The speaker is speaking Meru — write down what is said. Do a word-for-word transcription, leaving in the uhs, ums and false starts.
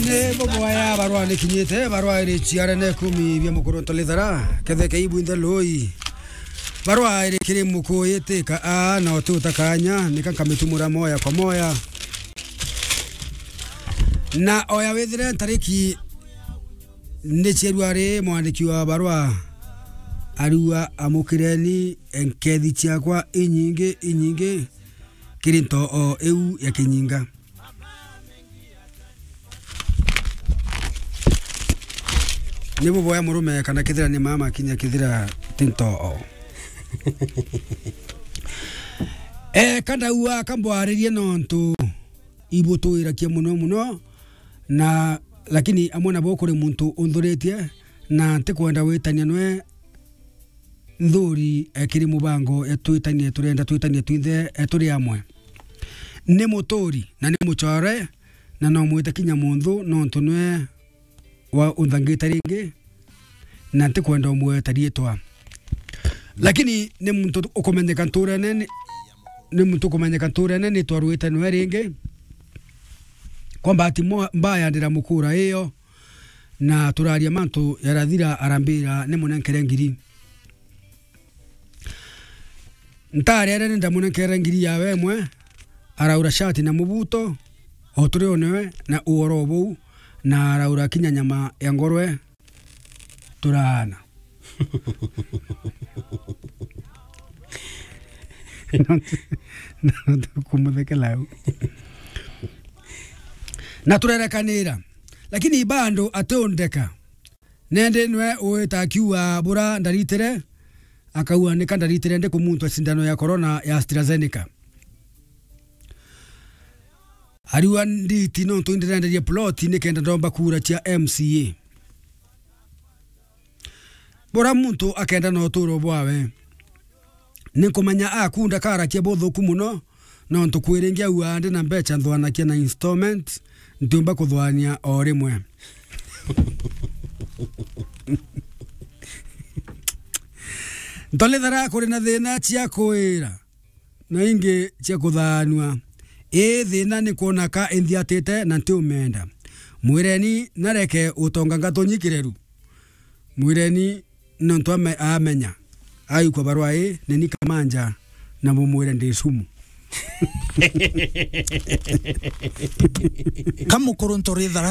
Ni buboya barua ni kinyite, barua iri ciarene kumi bia mukuru Ntolithara, ketheke ibu inthe lui. Barua iri kiri mukuitika a na ututa kanya, nika nkamitumura moya kwa moya. Na oya withire ntariki ni ciarua ri mwandiki wa barua arua amukireni nkethi ciakwa inyingi, inyingi kiri ntoo iu ya kinyinga. Ni buboya murume kana kethira ni mama kinya kethira ti ntoo. Eh, kandaua kambwaririe nontu ibutwirakia muno muno, na lakini amwe nabo kuri muntu unthuritie na ntikwenda witania nwe nthuri, eh, kiri mubango, eh, twitanie, turenda twitanie twinthe, eh, turi amwe. Ni muturi na ni mucore, na no mwite kinya munthu, nontu nwe wa unthangite ringi, na ntikwenda umweta riitwa. Lakini ni muntu ukumenyeka nturene, ni, ni muntu ukumenyeka nturene, ni twarwite nwe ringi. Kwa bahati mwa-, mbaya ndira mukura iyo, na turaria mantu yarathira arambira ni munenkere ngiri. Ntarere ni ndamunenkere ngiri yawe imwe, araura shati na mubuto, o turi o niwe na uoro buu, na araura kinya nyama ya ngorwe, turaana. Kumuthekela u. Na turerekanira, lakini bado atiundeka. Nende nwe uita akiuga bura ndaritire, akauga nika ndaritire ndi kumuntua sindano ya corona ya AstraZeneca. Ariua nditi nontu indirenderia plot nikenda ndomba kura cia M C A. Bura muntu akenda na uturo bwawe. Ninkumenya akunda karakia buthuku muno, nontu kwiringia ua ndi na mbecha nthwanakia na installment, ntiumba kuthwania o rimwe. Ntolithara kuri na thina cia kuira na ingi cia kuthaanua. Ii thina ni kwona ka inthiatite na ntiumenda. Mwireni nareke utonga ngatonyikireru. Mwireni nontu ame-, amenya. Aikwa barua ii, neni kamanja na mumwire ndi sumu. Kamukuru Ntorithara